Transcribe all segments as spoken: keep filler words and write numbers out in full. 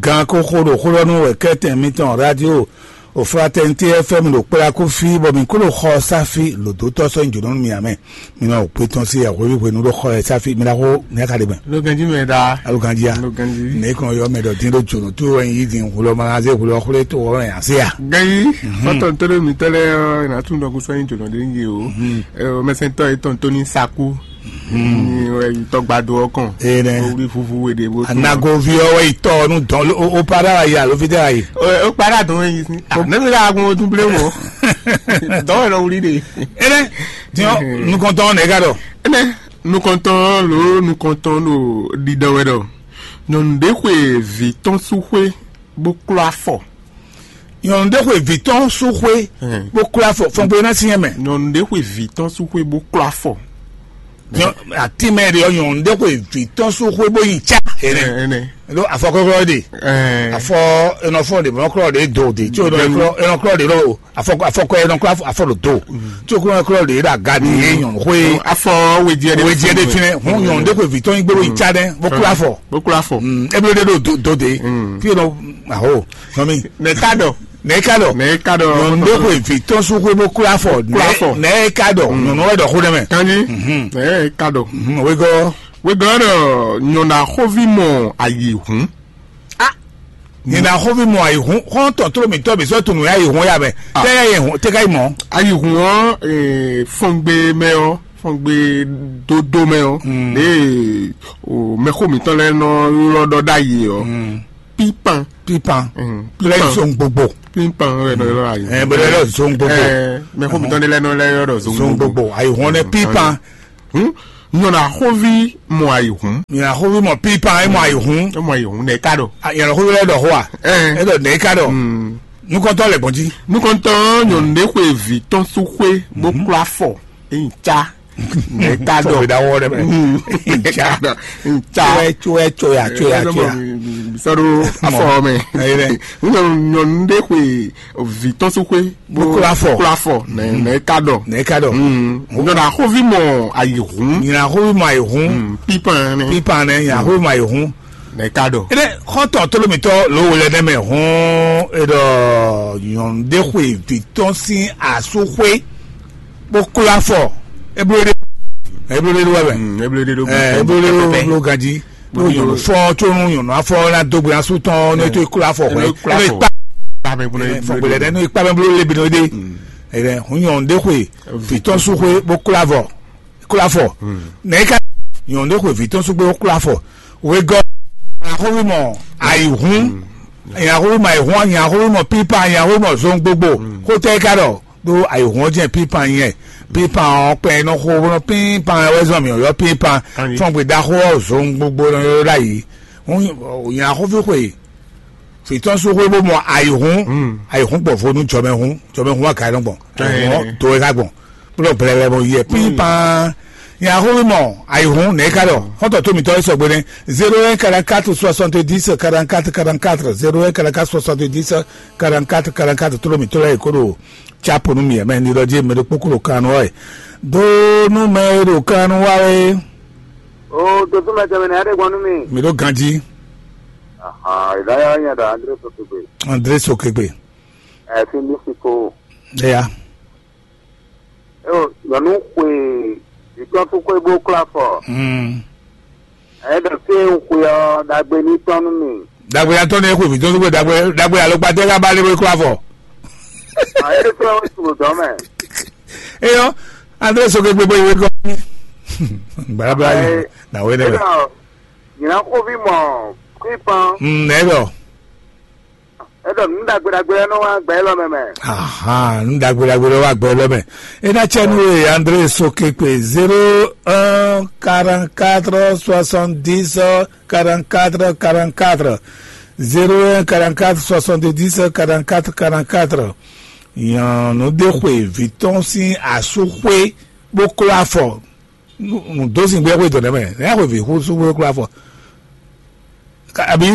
Gan kó xó ɖo xó ɖɔ nú wɛ̌kɛ́tɛn mitɔn radio Fraternité F M ɖo kplá kó fí, bɔ mǐ kó ɖo xɔ sáfí lǒdótɔ́ sɔ́ nyi jǒnɔ nú mì ǎ mɛ. Mi nɔ kpé tɔn sí yɛhweví hwenu ɖó xɔ ɛ sáfí, mi ná xó mi ná ka ɖe mɛ. Ló ganjí mɛ ɖa. Alo ganjí a? Ló ganjí. Ne kɔn yɔ mɛ ɖɔ dín ɖó jǒnɔ tó wɛ nyi dín hwlɔ ma zé hwlɔ xwlé tó wɔ wɛ nya sé a? Ganjí. Fɔtɔn tó ɖo mǐtɔn lɛ́ɛ ɔ́, è nǎ tunwun ɖɔ kó sɔ́ nyi jǒnɔ ɖé nyi o. Mɛsɛntɔ́ yětɔn tó ní sakú. Ní wɛ yi tɔgbado ɔ́ kɔn. Ee nɛ. Wí vuvu we ɖe bó tún. Anagovi ɔ́ wɛ yi tɔ ɔ́ nú dɔn o o para wa yi alo fi tɛ wa yi. O para dɔn yi si. Ne mi la agun o tún blé mɔ. Dɔn wɛ lɔ wuli de. Ene tiɲɔ nukɔntɔn nɛ ka dɔ. Ene nukɔntɔn lo nukɔntɔn lo ɖiɖɔ wɛ dɔ. Nyɔnu ɖe xwe vi tɔn su xwe bó klɔ afɔ. Nyɔnu ɖé xwe vǐ tɔn sú xwé bó klɔ́ afɔ fɔngbó ná syɛ́n mɛ. Nyɔnu ɖé xwe vǐ tɔn sú xwé bó klɔ́ afɔ. Atínmɛ ɖe ɔ́, nyɔnu ɖé xwe vǐ tɔn sú xwé bó yi cá. Ɛnɛ. Ɖó afɔkɔkɔ ɖe. Afɔ enɔfɔ ɖe mɔ klɔ ɖe do de tí o nɔ klɔ enɔklɔ ɖe ɖo afɔ afɔkɔ enɔklɔ afɔ ɖo do tí o klɔ klɔ ɖe ɖo aga ɖe ye nyɔnu xwe. Afɔ wejɛ ɖe wejɛ ɖe finɛ hun nyɔnu ɖé xwe vǐ tɔn yi gbé bó yi cá ɖɛ bó klɔ́ afɔ. Bó klɔ́ afɔ. Ebe ɖe ɖo do de. Tí o nɔ aho. Nɔmi. Nɛka dɔ. Nɛka dɔ. Nɛka dɔ. Nyɔnu ɖé xwe vǐ tɔn sú xwe bó klɔ́ afɔ. Klɔ́ afɔ. Nɛka dɔ. Nyɔnu wɛ dɔ xó ɖe mɛ. Kanji. Nɛka dɔ. Wegɔ. Wegɔ dɔ nyɔnu axɔvi mɔ ayi hun. Nyina axɔvi mɔ ayi hun xɔn tɔn tló mi tɔ mi sɔ tunu ya yi hun ya mɛ. Tɛ ya yi hun tɛ ka yi mɔ. Ayi hun ɔ fɔngbe mɛ ɔ fɔngbe dodo mɛ ɔ. Ne mɛxó mitɔn lɛ nɔ ylɔ dɔ ɖ'ayi ɔ. Pipan. Pipan. Lɛ zɔn gbogbo. Pipan wɛ nɔ ylɔ ayi. Ɛ bɛ lɛ zɔn gbogbo. Mɛxó mitɔn lɛ nɔ lɛ ylɔ dɔ zɔn gbogbo. Ayi hun nɛ pipan. Nyɔna xóvi mɔ ayi hun. Nyɔna xóvi mɔ pipan e mɔ ayi hun. E mɔ ayi hun nɛ ka ɖɔ. Nyɔna xóvi lɛ ɖɔ xó a. E ɖɔ nɛ ka ɖɔ. Nukɔntɔ lɛ gbɔn jí. Nukɔntɔ nyɔnu ɖe xwe vi tɔn su xwe bó kplɔ afɔ. Eyin ca. Nɛ ka dɔ. Tɔgbe da wɔ ɖe mɛ. Nca. Nca. Tsoɛ tsoɛ tsoya tsoya tsoya. Sɔɖo afɔ mɛ. Nyɔnu ɖe xwe vi tɔn su xwe. Bó kplɔ afɔ. Kplɔ afɔ nɛ nɛ ka dɔ. Nɛ ka dɔ. Nyɔnu axovi mɔ ayi hun. Nyina axovi mɔ ayi hun. Pipan nɛ. Pipan nɛ nyina axovi mɔ ayi hun. Nɛ ka dɔ. Ene xɔtɔn tolomitɔ lo wele nɛ mɛ hun e ɖɔ nyɔnu ɖe xwe vi tɔn sin asu xwe. Bó kplɔ afɔ. Eblo ɖe. Eblo ɖe wɛ mɛ. Eblo ɖe ɖo. Eblo ɖe ɖo ganji. N'o nyɔnu fɔ tso nu nyɔnu afɔ na dogbe asu tɔn n'o to klo afɔ hwɛ n'o ikpa fɔgbɛlɛ dɛ n'o ikpa mɛ bolo lebi n'o de. Ɛdɛ hun nyɔnu de xwe vitɔn su xwe bó klo avɔ klo afɔ. Nɛ ika nyɔnu de xwe vitɔn su xwe bó klo afɔ. Wegɔ ahɔnwi mɔ ayi hun. Ahɔnwi mɔ ayi hun, ahɔnwi mɔ pipa, ahɔnwi mɔ zɔn gbogbo. Xotɛ ika dɔ ɖó ayǐhɔ́n jɛ́n pínpan nyɛ. Pínpan ɔ́ kpɛn nɔ xo bó nɔ pínpan wɛ zɔn mǐ ɔ́ pínpan. Fɔ́n gbe ɖaxó ɔ́ zɔn gbogbo nɔ ylɔ́ ɖ'ayǐ. Nya xófí xwe fǐtɔ́n sú xwé bó mɔ ayǐhún. Ayǐhún gbɔ vo nú jɔmɛhún. Jɔmɛhún wá ka nɔ gbɔn. Ayǐhún do é ká gbɔn. Bó nɔ blɛblɛ mɔ yɛ pínpan. Nya xófí mɔ ayǐhún nɛ̌ ká ɖɔ xɔ́ntɔn tó mǐtɔn é sɔgbe nɛ́. Zéro un quarante quatre soixante dix quarante quatre quarante quatre, zéro un quarante quatre soixante dix quarante quatre quarante quatre, tó mǐtɔn lɛ́ɛ kó ɖo. Tsapo nú mì mɛ ní ɖɔ jí mɛ ɖokpó kó ɖo kan nú wá wɛ. Dó nú mɛ e ɖo kan nú wá wɛ. O dodó mɛ tɛmɛ nɛ aɖe gbɔn nú mi. Mi ɖo ganjí. Ahan ìdáyà yẹn ɖɔ André Sokegbe. André Sokegbe. Ẹ fi mi si ko. Eya. Eo nyɔnu xwe ìtɔn tó xwe bó kla fɔ. Hmm. Ɛ ɖɔ fí e un xwe ɔ́ ɖagbe ní tɔn nú mi. Dagbe ya tɔn ne xwe mi tɔn xwe dagbe dagbe alo gbadé ka ba le ko afɔ. Ayé tó ń sùn dɔn mɛ. Eyɔ, André Sokegbe bó yi wé kɔ. Gbadabla yi na wé ne. Nyina xóvi mɔ pípan. Mm, ne dɔ. Eɖɔ nu ɖagbe ɖagbe lɛ nɔ wá gbɛ élɔ́ mɛ mɛ. Ahan, nu ɖagbe ɖagbe lɛ wá gbɛ élɔ́ mɛ. Ena tsɛ nu ye André Sokekpe zéro un quarante quatre soixante dix quarante quatre quarante quatre, zéro un quarante quatre soixante dix quarante quatre quarante quatre. Nyɔnu ɖe xwe vi tɔn sín asú xwé bó kló afɔ. Nǔ dó sin gbé xwé dɔ̌n mɛ, nɛ̌ xwe vǐ xú sú xwé kplá fɔ? Àbí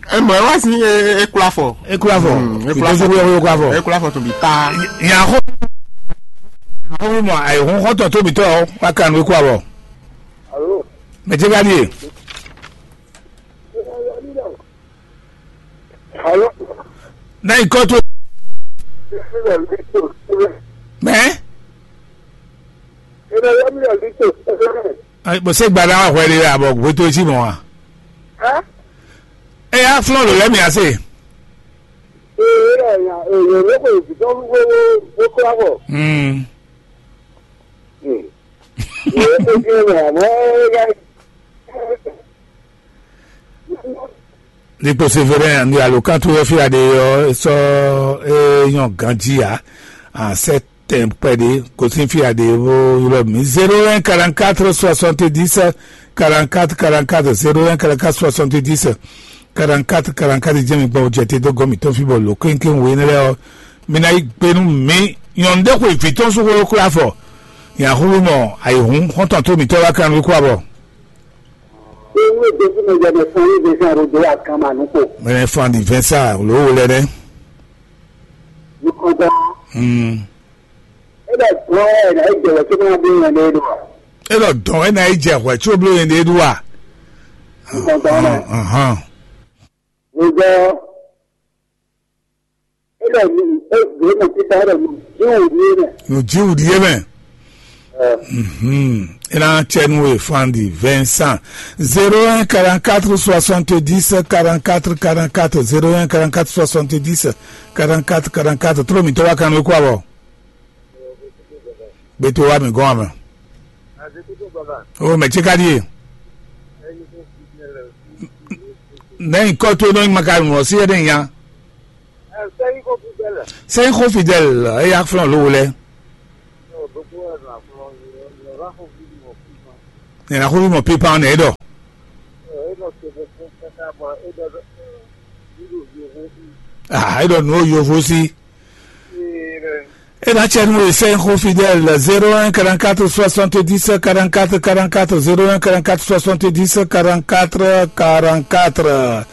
ẹ mọ̀ ẹ wá sí ẹ kplá fɔ. Ẹ kplá fọ. Vǐ dó sin gbé xwé kplá fɔ. Ẹ kplá fọ tó bí tá. Nya xó nya xó mɔ àyè hún xɔ́tɔn tóbi tɔ́ ɔ wá kan nú kplá fɔ. Mɛ jẹ́ ká ní e. Ná nyǐkɔ towe. Mɛ? Bó ṣe gba ná wá hwɛ ɖé wɛ abɔ hwetó cí mɔ̌ a? Ɛ yá flɔ́n lǒ lɛ́ mì ase. Ní kpo Severin ní alokán tó wɛ fí aɖe ɔ́ sɔ́ é nyɔ́ ganjí ǎ. Sɛ́ tɛn kpɛɖé gosín fí aɖe bó ylɔ́ mǐ zéro un quarante quatre soixante dix quarante quatre quarante quatre zéro un quarante quatre soixante dix quarante quatre quarante quatre jɛ́n mi gbɔn jɛ te dó gɔ́ mǐtɔn fí bɔ lǒ kéŋkéŋ wǒ énɛ́ lɛ́ɛ ɔ́, mi ná yí gbe nú mǐ. Nyɔ̌nu ɖé xwe vǐ tɔn sú xwé kúlá fɔ. Nya xúxú mɔ ayǐhún xɔ́ntɔn tó mǐtɔn wá kan nú kú abɔ. Ewúrẹ́ Jésù mɛ jẹ́ mɛ fún yín Vincent Rodé Akanma nukpo. Mɛ fún adi Vincent ló wo lɛ nɛ. Nukɔntɔn. Hmm. E bɛ gbɔ ɛ na e jɛ wɛ tó máa bí yẹn lé do wa. E lɔ dɔn e na e jɛ hwɛ tso blo yẹn de do wa. Nukɔntɔn mɛ. Ahan. Wozɔ. E lɔ nu e gbé mɛ títà e lɔ nu jíwù ní e mɛ. Nu jíwù ní e mɛ. Mhm. E na cɛ nu e fandi Vincent. Zéro un quarante quatre soixante dix quarante quatre quarante quatre zéro un quarante quatre soixante dix quarante quatre quarante quatre. Tró mi tɔ́ wá kan nú kó abɔ. Gbé tó wá mi gɔ́n amɛ. O mɛ tí ka ɖíe. Nɛ́ nyǐkɔ towe nɔ nyí Makalunu ɔ́ sí éɖée nya. Sɛ́nyí xó Fidɛ́l, eya flɔ́n lǒ wo lɛ́ɛ. Nɛ̌ ná xó fí mɔ pípan nɛ̌ é ɖɔ? Ah, é ɖɔ nǔ ó yovo sí. E na cɛ nú e sɛ́n xó Fidèle zéro un quarante-quatre soixante-dix quarante-quatre quarante-quatre, zéro un quarante-quatre soixante-dix quarante-quatre quarante-quatre.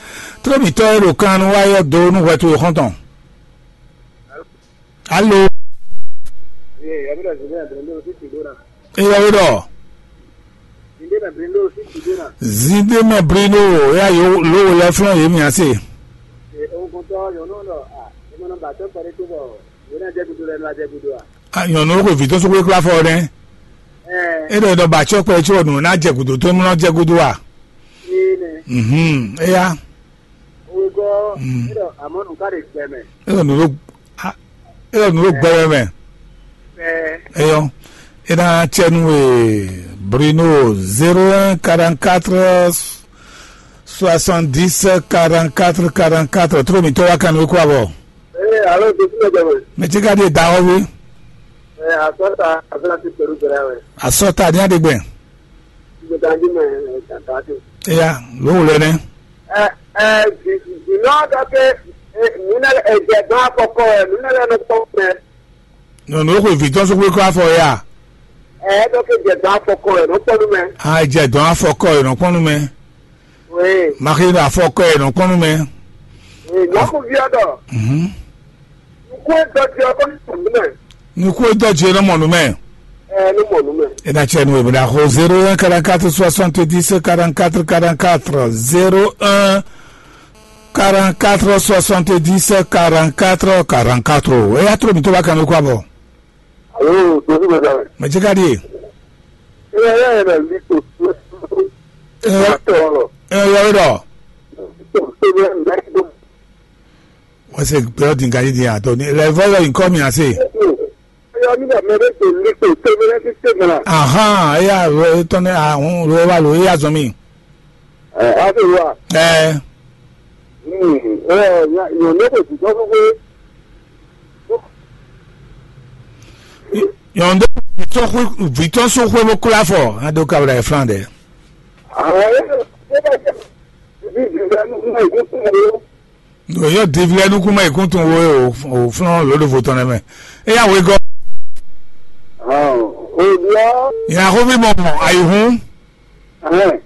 Tró mǐtɔn e ɖo kan nú wá yɔ do nú hwɛ towe xɔ́ntɔn. Alo. Eyɔ we ɖɔ. Zinde mɛ Bruno ya yo lo wo lɛ flɔn ye mia se. A nyɔnu ko vi tó so kpé kpla fɔ nɛ. E ɖɔ ɖɔ ba tsɔ kpɛ tsɔ nu na jɛ gudo tó nu na jɛ gudo a? Mhm, eya. E ɖɔ nu ɖo a, e ɖɔ nu ɖo gbɛmɛ mɛ. Eyɔ, e na cɛ nu e Bruno zéro un quarante-quatre soixante-dix quarante-quatre quarante-quatre. Tró mi tɔ́ wá kan nú kó abɔ. Ee, alo, jesi mɛ jɛ mɛ. Mɛ tí ka ɖi da ɔ́ wí. Ee, asɔta aflasi pẹ̀lú bẹ̀rẹ̀ wẹ̀. Asɔta ní aɖegbɛ. Ìgbésẹ̀ ajé mɛ ẹ̀ tàtà tó. Eya, ló wò lɛ nɛ. Ɛ ɛ, jìnnà dɔ pé nínú ẹ̀jẹ̀ gan afɔkọ ẹ̀ nínú ẹ̀rọ kpọ́ mẹ́. Nyɔnu xwe vi tɔn so xwe kɔ afɔ ya. Ɛ dɔ pé jẹ̀ gan afɔkɔ ẹ̀ nɔ kpọ́ nú mẹ́. A jɛ dɔn afɔkɔ ɛ nɔ kpɔn nú mɛ. Oui. Maxi ɖo afɔkɔ ɛ nɔ kpɔn nú mɛ. Oui, nyɔkuvi ɔ́ ɖɔ. Mhm. Nukún e dɔji ɔ́ kɔni mɔ nú mɛ. Nukún e dɔji ɔ́ nɔ mɔ nú mɛ. Ɛ nɔ mɔ nú mɛ. E na cɛ nu e bɛ da xo zéro un quarante-quatre soixante-dix quarante-quatre quarante-quatre, zéro un quarante-quatre soixante-dix quarante-quatre quarante-quatre. E ya tró mi tó bá kan mi kó abɔ. Alo, tosi bɛ da. Mɛ jɛ ka di. E ya ya yɛ na li to. E ya tɔ lɔ. E ya yɛ dɔ. To to bɛ na to. Wọ́n ṣe gbé ọdún kan yìí di àtọ́ ní ilẹ̀ ìfọ́lọ́ nǹkan mi àṣẹ. Eyɔ mi ɖɔ mɛ ɖé to li to to bɛ na ti te mɛ la. Ahan, eya ro etɔn ne ahun ro wa lo eya zɔn mi. Ɛ, a se wa. Ɛ. Hmm, ɛ, nya nyɔnu ko ti tɔ ko. Nyɔnu vitɔ xwe vitɔ so xwe bo kula fɔ ado kabla e flan dɛ. Awo ye, ye ba se. Bi bi la nu na ko ko. Ɖo yɔ divi lɛ nukún mɛ ikún tun wo o o flɔn lóɖo vo tɔn nɛ mɛ. Eya wegɔ. Ɔ, o bia. Nya xó mi mɔ mɔ ayi hun. Ɛhɛn.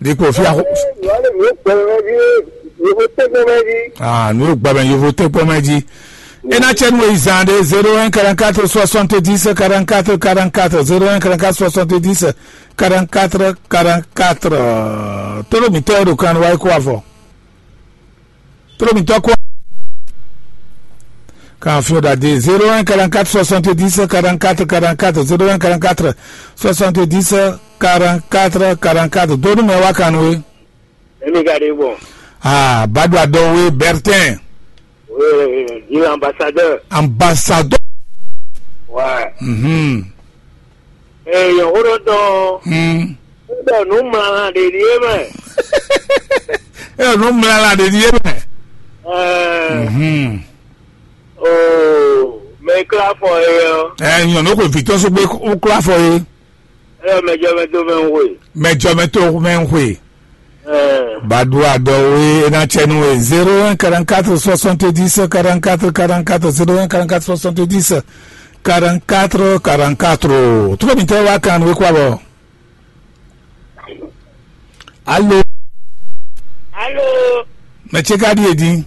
Ɖi kpo fia xó. Wale mi gbɛmɛ di, yovo tɛgbɛmɛ di. Ah, nu gbɛmɛ yovo tɛgbɛmɛ di. Ena cɛ nu yi zan de zéro un quarante-quatre soixante-dix quarante-quatre quarante-quatre, zéro un quarante-quatre soixante-dix quarante-quatre quarante-quatre. Tolo mi tɛ do kan wa ko avɔ. Tló mǐtɔn kó. Kan fio ɖa dé zéro un quarante-quatre soixante-dix quarante-quatre quarante-quatre, zéro un quarante-quatre soixante-dix quarante-quatre quarante-quatre. Dó nú mɛ wá kan nú we. Emi ka ɖe gbɔn? Ah, Badou Adɔwe Bertin. Oui, di l'ambassadeur. Ambassadeur. Ouais. Mhm. Ee, yɔnxó ɖɔ tɔn. Hmm. Ɖɔ nǔ mlala ɖe ɖíe mɛ. Eo nǔ mlala ɖe ɖíe mɛ. Ɛɛ, Mhm. Oo, mɛ klá fɔ e ɔ. Ɛ nyɔ̌nu xwe vǐtɔ́ só gbé kó klá fɔ é. Ɛ mɛ jɔ mɛ dó mɛ ń hwe. Mɛ jɔ mɛ tó mɛ ń hwe. Ɛɛ. Badou Adɔwe é ná cɛ nú we zéro un quarante-quatre soixante-dix quarante-quatre quarante-quatre, zéro un quarante-quatre soixante-dix quarante-quatre quarante-quatre. Tló mǐtɔn wá kan nú we kó abɔ. Alo. Alo. Mɛ ce ka ɖíe din?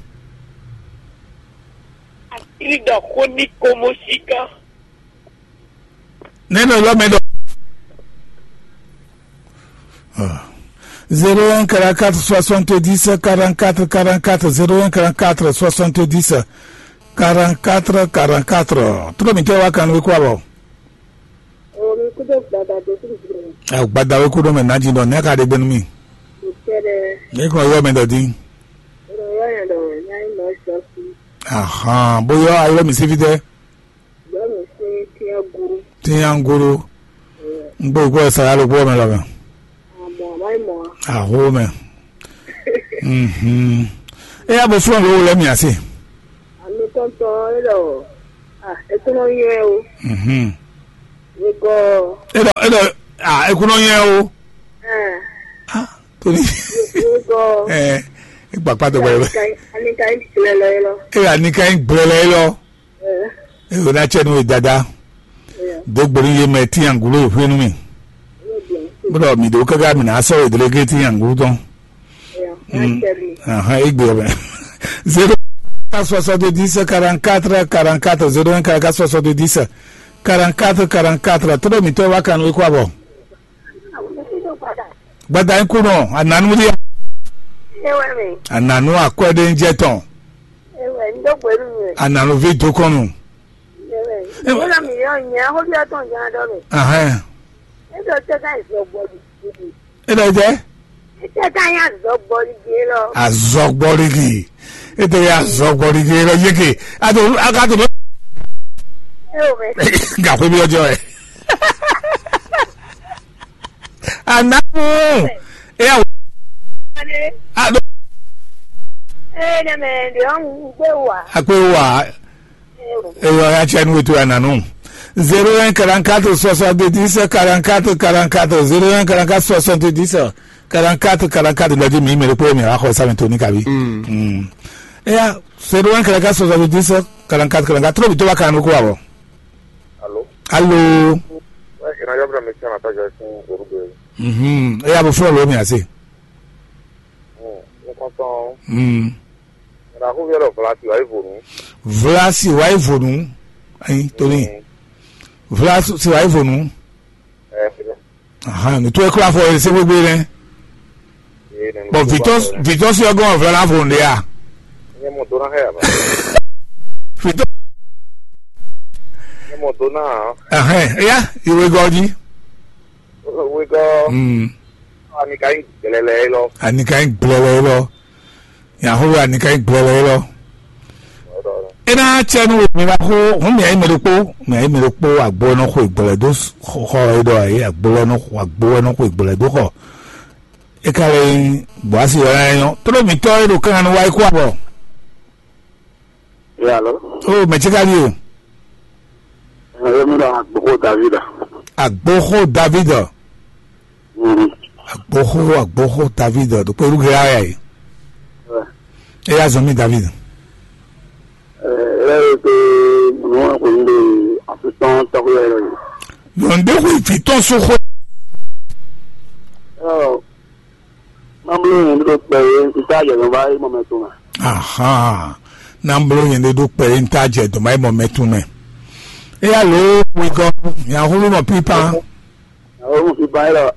Asiri ɖɔ xó ní komo síká. Nɛ́nɛ lɔ mɛ ɖɔ. Ah. Zéro un quarante-quatre soixante-dix quarante-quatre quarante-quatre, zéro un quarante-quatre soixante-dix quarante-quatre quarante-quatre. Tló mǐtɔn wá kan nú we kó abɔ. Omi kúdó gbada dó kúdó gbada. Ɛ gbada we kúdó mɛ ná jí ɖɔ nɛ́ ka ɖe gbɛnu mi. Kɛɖɛ. Ní kò yɔ mɛ ɖɔ dín. Ro yɔ yɛ ɖɔ nyɛ nyɛ lɔ sɔ sí. Ahan, bóyá ayɔ mi sí fi tɛ. Yɔ mi sí tiɛ guru. Tiɛ guru. N gbɔ gbɔ sara ló gbɔ mɛ lɔ mɛ. Àmọ́ àmọ́ ìmọ̀. Aho mɛ. Mhm. E ya bo fúnra ló lɛ mi ase. Àmì tɔntɔn e lɔ. Ah, e kúnɔ yɛ o. Mhm. Wegɔ. E lɔ e lɔ ah e kúnɔ yɛ o. Ah, torí. Wegɔ. Eh, e gbàgbá tó gbẹrẹ. Ani ka yi gblɛ lɔ yi lɔ. E ani ka yi gblɛ lɔ yi lɔ. Eh. E o na cɛ nu e dada. Eh. Dogbo ni ye mɛ ti angolo e hwenu mi. Bro, mi do kaka mi na sɔ e dele ke ti angolo tɔn. Eh. Mm. Ahan, e gbe bɛ. Zéro quatre soixante-dix quarante-quatre quarante-quatre, zéro un quarante-quatre soixante-dix quarante-quatre quarante-quatre. Tló mǐtɔn wá kan nú we kó abɔ. Gbada yín kú nɔ, ànánú rí. Ewé mi. Ànánú akwɛ́ ɖé ń jẹ́ tɔn. Ewé ń dó gbèrú mi. Ànánú ví dókɔnnu. Ewé. Ewé. Wọ́n mi yọ nyẹ́, ó bí ọtún jẹ́ adọ́ mi. Ahẹ́n. Nítorí tẹ́tà ìfẹ́ gbọ́dọ̀. E lɔ jɛ. Tẹ́tà yín àzọ gbọ́dọ̀ jẹ́ lọ. Azɔgbɔligi. E tɛ azɔgbɔligi lɔ yeke. A to a ka to. Ewé. Gakwe bi ọjọ́ ẹ. Anamu. E ya. Ado. Ee, ne mɛ ɖe ɔn gbé wa. Akpé wa. Eyɔ ya cɛ nu wetu ya nanu. Zéro un quarante-quatre soixante-dix quarante-quatre quarante-quatre, zéro un quarante-quatre soixante-dix quarante-quatre quarante-quatre lɔ di mi mɛ ɖokpó mi wa xɔ sami to ní kabi. Mm. Eya, zéro un quarante-quatre soixante-dix quarante-quatre quarante-quatre, trop bi to ba kan ko awɔ. Allô. Allô. Ouais, il y en a qui me tiennent à ta direction, Orugbe. Mhm. Eya bo fɔ lo mi ase. Mm. Nous comptons. Mm. Ɖaxó yɛ ɖɔ Vlasi wá yi vo nǔ. Vlasi wá yi vo nǔ. Ayi, Tony. Mm. Vlasi wá yi vo nǔ. Eh, Ahan, nǔ towe kplá fɔ e se gbégbé nɛ́. Eh, nɛnɛ Bɔn kó vitɔ ba vitɔ si ɔgɔn vla na vo nɖe a. Nye mo dona hɛ ba. Vitɔ Nye mo dona. Ahan, eya, iwe gɔji. Wegɔ. Mm. Ani ka yi gbɛlɛlɛ lɔ. Ani ka yi gbɛlɛlɛ lɔ. Yahowa ni ka nyí gblɛlɛ élɔ́. É ná cɛ nú mi ma xó hǔn mǐ ayǐ mɛ ɖokpó, mǐ ayǐ mɛ ɖokpó agbo e nɔ xo ìgbɔlɛ dó xɔ é ɖɔ ayǐ, agbo e nɔ agbo e nɔ xo ìgbɔlɛ dó xɔ. É ka lɛ nyí Bɔási ɔ́ ná nyɔ́. Tló mǐtɔ́ e ɖo kankan nú wá yi kú abɔ. Yalo. Ó mɛ ce ka ɖíe. Yalo mi ɖɔ agboxó David. Agboxó David. Mhm. Agboxó agboxó David ɖo kpé rúgɛ yá yá yi. Ouais. É yá zɔn mí David. Ɛ ɛ pe nua ko n de afitɔn tɔgɔ yɛ yɛ. Yɔnde hu vitɔn so xo. Ɔ, mamlo yɛn ɖo kpɛ ye n ta jɛ nɔ va yi mɔ mɛ to mɛ. Ahan. Namlo yɛn ɖe ɖo kpɛ ye n ta jɛ dɔn va yi mɔ mɛ to mɛ. É yá lo wigɔ yahulu nɔ pipa. Awo mo fi ba yɛ lɔ.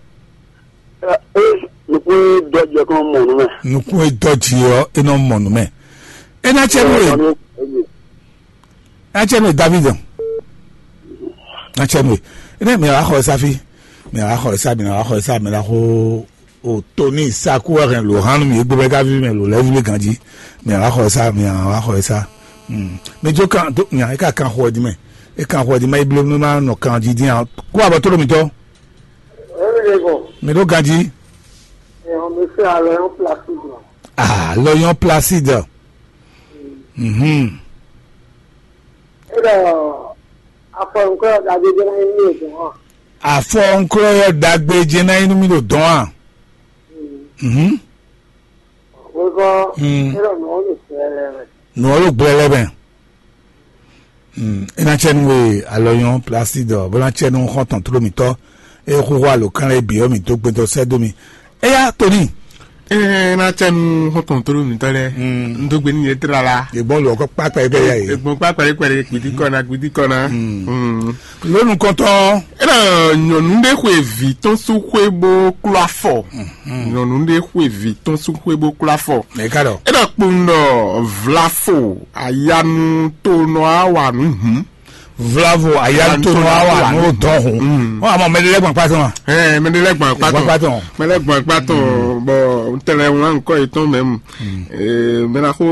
Ɛ ɛ nukun dɔ jɛ kɔn mɔ nu mɛ. Nukun e dɔ ji ɔ e nɔ mɔ nu mɛ. E na cɛ nu e. Na cɛ nu e David. Na cɛ nu e. E ne mi wa xɔ sa fi. Mi wa xɔ sa, mi wa xɔ sa, mi la xo o Tony Saku wɛ hɛn lo hanu mi egbe bɛ ka vi mɛ lo lɛvi le ganji. Mi wa xɔ sa, mi wa xɔ sa. Hmm. Mi jo kan do nya e ka kan xɔ di mɛ. E kan xɔ di mɛ ible mi ma nɔ kan ji din a. Ko abɔ to lo mi tɔ. Emi le bɔ. Mi do ganji. Ɛ, on me fait à Lorient Placide. Ah, Lorient Placide. Mhm. Eɖɔ afɔ nukɔ ɖagbe jɛ na yi mi o dɔn. Afɔ nukɔ ɖagbe jɛ na yi mi ɖo dɔn a. Mhm. Wekɔ. Mm. Eɖɔ nɔ wo le sɛ lɛ mɛ. Nɔ wo le gblɛ lɛ mɛ. Mm. E na cɛ nu we alɔyɔn plastique dɔ bó na cɛ nu xɔntɔn tlo mitɔ. E xuxu alo kan lɛ bi ɔ mi do gbɛdɔ sɛ do mi. Eya Tony. Ee, na cɛ nu xɔntɔn tolo mi tɔ lɛ. Mm. N do gbe ni yɛ tlala. Egbɔn lɔ kɔ kpakpa yi bɛ ya yi. Egbɔn kpakpa yi kpɛlɛ gbidi kɔna gbidi kɔna. Mm. Lónú kɔntɔn. Ena nyɔnu ɖe xwe vi tɔn su xwe bó klɔ afɔ. Nyɔnu ɖe xwe vi tɔn su xwe bó klɔ afɔ. Eka dɔ. Ena kpɔn dɔ vlafo ayanu to nɔ awa nu hum. Vlavo ayalutonu awa n'o dɔn ho. Ɔ amɔ mɛɖe lɛ gbɔn kpatɔn wa. Ɛ mɛɖe lɛ gbɔn kpatɔn. Gbɔn kpatɔn. Mɛɖe gbɔn kpatɔn. Bɔn ntɛlɛ ŋlá nkɔ yetɔn mɛ mu. Mɛɖe ko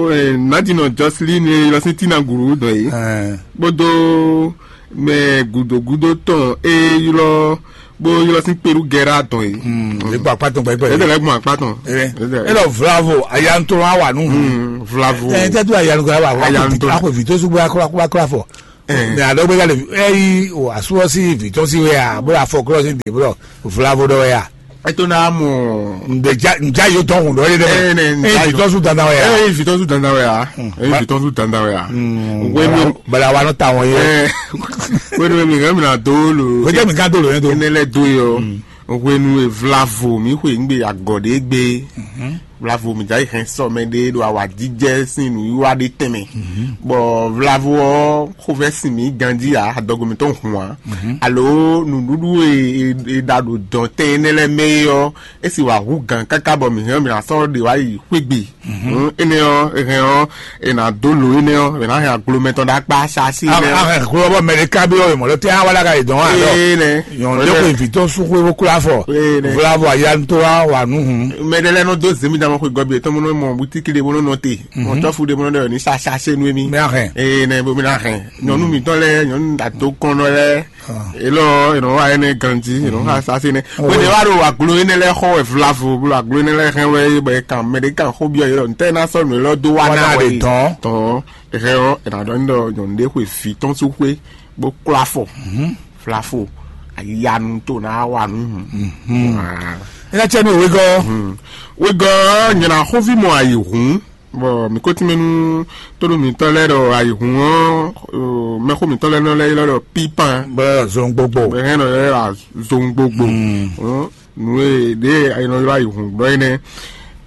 nadinɔ jɔsili ni lɔ sí tina gulu dɔ yi. Kpódó mɛ gudogudo tɔn e ylɔ bó ylɔ sí peru gɛra dɔn yi. Lɛ gbɔn kpatɔn gbɛgbɛ. Ɛdɛ lɛ gbɔn kpatɔn. Elɔ vlavo ayalutonu awa nu. Vlavo. Ɛ tɛ tu ayalutonu awa. Ayalutonu. Akɔ vi tó sugbó akɔ akɔ akɔ afɔ. Mɛ alɔ bɛ ka le eyi o asu ɔ si vitɔ si wɛ a bolo afɔ klɔ si de bolo vlavo dɔ wɛ a. Eto na mɔ. Nja nja yo tɔn kun dɔ ye dɛ. Eyi vitɔ su dandan wɛ a. Eyi vitɔ su dandan wɛ a. Eyi vitɔ su dandan wɛ a. Wenu bala wa nɔ ta wɔn ye. Wenu mi ŋa mi na do lo. Wete mi ka do lo yɛ do. Ene lɛ do yɔ. Hwenu e vlavo mǐ xwe nǔ gbe agɔ ɖě gbe, vlavo mǐ jɛ hɛn sɔ mɛ ɖé ɖo awǎjijɛ sín nǔwiwa ɖé tɛnmɛ, bɔ vlavo ɔ́ xovɛ́ sin mǐ ganjí ǎ, adɔgo mǐtɔn hun ǎ, alo nǔɖuɖu e è ɖa ɖo dɔ̌ntɛn énɛ́ lɛ́ɛ mɛ é ɔ́, é sì wǎ hú gǎn káká bɔ mǐ hɛn ɔ́ mǐ ná sɔ́ ɖě wá yi xwé gbe. Énɛ́ ɔ́, è hɛn ɔ́, è nǎ dó lǒ énɛ́ ɔ́, è nǎ hɛn aglo mɛtɔn ɖó akpá Saasi énɛ́ ɔ́. Ahɛn xlɔ́bɔ mɛɖeká bí ɔ́ mɔ̌ lɛ́ tɛ́ wá wá lága yě dɔn wá ɖɔ. Ee nɛ. Nyɔ̌nu lé ko vǐ tɔn sú xwé bó kló afɔ. Ee nɛ. Vlavo ayanu tó wá wà nú hǔn. Mɛ ɖé lɛ́ɛ nɔ dó zěmidamɔ xwe gɔ́ bí yětɔn bó nɔ mɔ bútíkì ɖé bó nɔ nɔte. Mɔ tɔ́fu ɖé bó nɔ ɖɔ ní Saasi énɛ́ mì. Mɛ ahɛn. Ee nɛ bó mi ná hɛn. Nyɔ̌nu mǐtɔn lɛ́ɛ, nyɔ̌nu atokɔnnɔ lɛ́ɛ. Elɔ, enɔ wa ene ganji, enɔ ha sase ne. Wene wa ɖo aglo ene lɛ xɔ wɛ vlavo, blo aglo ene lɛ hɛn wɛ bɔ e kan mɛ ɖe kan xó biɔ yɔ ntɛ na sɔ nu elɔ do wa na wɛ tɔn. Tɔn. Ehɛ ɔ, ena ɖɔ ndɔ nyɔnu ɖe xwe vi tɔn su xwe, bo klo afɔ. Vlavo, ayanu to na wa nu. Ena tsɛ nu wegɔ. Wegɔ, nyina xóvi mɔ ayi hun. Bɔ mǐ ko tínmɛ nú tónú mǐtɔn lɛ́ɛ ɖɔ ayǐhun ɔ́, mɛxó mǐtɔn lɛ́ɛ nɔ lɛ́ ylɔ́ ɖɔ pípan. Bɔ zɔngbogbo. Bɔ hɛn nɔ lɛ́ wá zɔngbogbo. Nǔ e ɖě e nɔ ylɔ́ ayǐhun gbɔ énɛ́.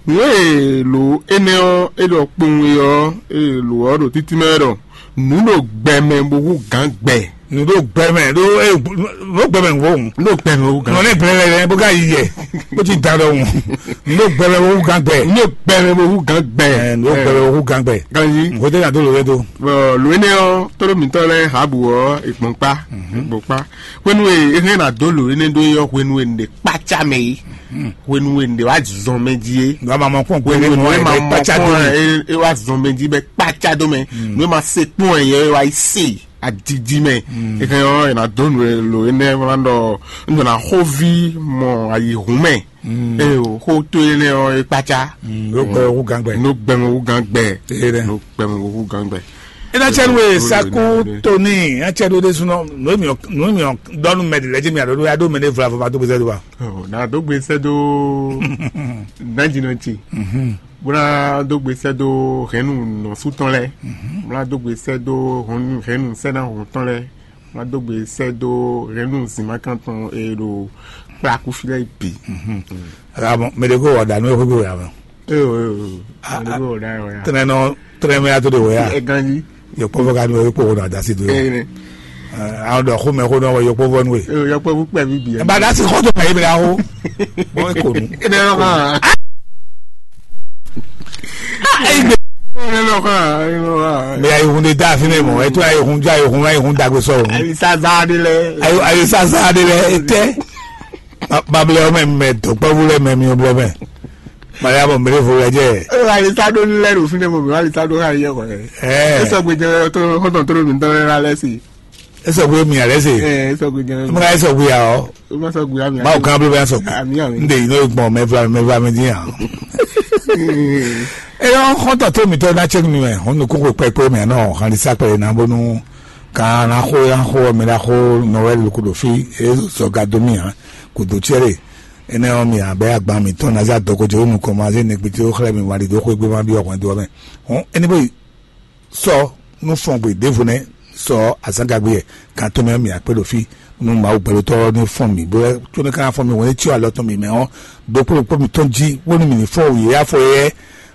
Nǔ e lǒ énɛ́ ɔ́, é ɖɔ kpowun e ɔ́, é lǒ ɔ́ ɖo títí mɛ wɛ ɖɔ nǔ ɖo gbɛ mɛ bó hú gǎn gbɛ. Nǔ ɖo gbɛ mɛ, ɖó é ɖó gbɛ mɛ wò. Ɖó gbɛ mɛ wò gǎn. Nɔ ne gblɛ lɛ bó ka yi yɛ, bó ti da ɖɔ wò. Nǔ ɖo gbɛ mɛ wò gán gbɛ. Nǔ ɖo gbɛ mɛ wò gán gbɛ. Ɛ, nǔ ɖo gbɛ mɛ wò gán gbɛ. Ganji. Nko tɛ na do lo wɛ do. Bɔ lo énɛ́ ɔ́, tóɖó mǐtɔn lɛ́ɛ Habu ɔ́, è gbɔn kpá, è gbɔn kpá. Hwenu e é hɛn ná dó lo énɛ́ ɖó é ɔ́, hwenu e un ɖe kpácá mɛ é, hwenu e un ɖe wá zɔn mɛ jí é. Nɔ ma mɔ kpɔn hwenu e nɔ ma mɔ kpɔn é, é wá zɔn mɛ jí bɛ kpácá dó mɛ. Nú é ma se kpɔn ɛ yɛ é wá yi se. Adidi mɛ. Ehe ɔ́, è nǎ dó nǔ e lo énɛ́ wlán ɖɔ un ɖo ná xóví mɔ ayǐhún mɛ. Eye o xó tó énɛ́ ɔ́ é kpácá. Ló gbɛ owó gán gbɛ. Ló gbɛ owó gán gbɛ. Ló gbɛ owó gán gbɛ. É ná cɛ nú e saku tóní, é ná cɛ ɖó ɖésúnɔ, nǔ e mǐ nǔ e mǐ dɔ́ nú mɛ ɖě lɛ́ɛ jí mǐ aɖó ɖó ya ɖó mɛ ɖé vlavo ma dó gbèsè dó wa. Ɔ, nǎ dó gbèsè dó. Nǎjínɔ ce. Bó ná dó gbe sɛ́ dó hɛ̌nnu nɔsú tɔn lɛ́ɛ, bó ná dó gbe sɛ́ dó hɔn-, hɛ̌nnu sɛ́náhɔn tɔn lɛ́ɛ, bó ná dó gbe sɛ́ dó hɛ̌nnu zǐnmákan tɔn e ɖo kplákú fí lɛ́ɛ bǐ. Mɛ ɖé kó wɔ ɖa nú ɛ xwé gbé wɛ amɛ. Ee o, ee o. Mɛ ɖé kó wɔ ɖa wɛ ya. Tɛnɛ nɔ tɛnɛ mɛ ato de wɛ ya. Ɛ ganji. Yɔkpɔvɔ ka nɔ yɔkpɔvɔ nɔ adasi do. Ee ne. Àwọn dɔ xó mɛ xó nɔ wɔ yɔkpɔvɔ nú e. Ee, yɔkpɔvɔ kpɛ bi bi. Ɛ ba dasi xɔ tó ka yi bɛ aho. Bɔn e ko nu. Ee ne lɔ kan. Ee ne lɔ kan. Afi ne mɔ, e to ayi hun, ja ayi hun, ayi hun dagbe sɔ o. Ayi sa za de lɛ. Ayi, ayi sa za de lɛ, e tɛ. Babilɛ mɛ, mɛ dɔkpɛvu lɛ mɛ mi blɛ mɛ. Mali abɔ mele vo wɛ jɛ. E wa alisa ɖo lɛ ɖo fi ne mo mi wa alisa ɖo ha yɛ kɔ. Ɛ. E sɔgbe jɛ to hɔntɔn to mi tɔn la lɛ si. E sɔgbe mi alɛ se. Ɛ, e sɔgbe jɛ. Mo ka e sɔgbe ya o. O ma sɔgbe ya mi. Ma o kan blo bɛ sɔgbe. Ami ami. N de yi n'o gbɔn mɛ vla mɛ vla mi di yan. E yɔ hɔntɔn to mi tɔ na cɛ mi mɛ. Hɔn nukun ko pɛpɛ mi anɔ hɔn alisa kpɛ na bonu. Kan na xo ya xo mi la xo Noël kudo fi. E sɔga do mi yan. Kudo cɛre. Enɛ ɔ́, mi abɛ agban mǐtɔn ná zé adɔgo ce wú nukɔn ma zé nɛgbé ce wú xlɛ́ mi wali dó xwé gbé ma byɔ́ hwɛndo ɔ́ mɛ. Hɔn, ényí bó yi sɔ nú fɔn gbe ɖěvo nɛ́ sɔ azǎngagbe yɛ kan tɔn mɛ ɔ́, mǐ akpé ɖo fí nú Mawu gbɛɖotɔ́ ɔ́ ní fɔn mǐ, bó có nɔ ka ná fɔn mǐ hwɛ̌n cyɔ alɔ tɔn mǐ mɛ ɔ́, ɖokpó ɖokpó mǐtɔn jí, bónú mǐ ní fɔ́n wǔ yě afɔ yɛ é,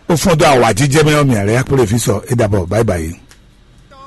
bó fɔ́n dó awǎjijɛ mɛ ɔ́, mǐ alɛ akpé ɖo fí sɔ é ɖabɔ báyibáyi.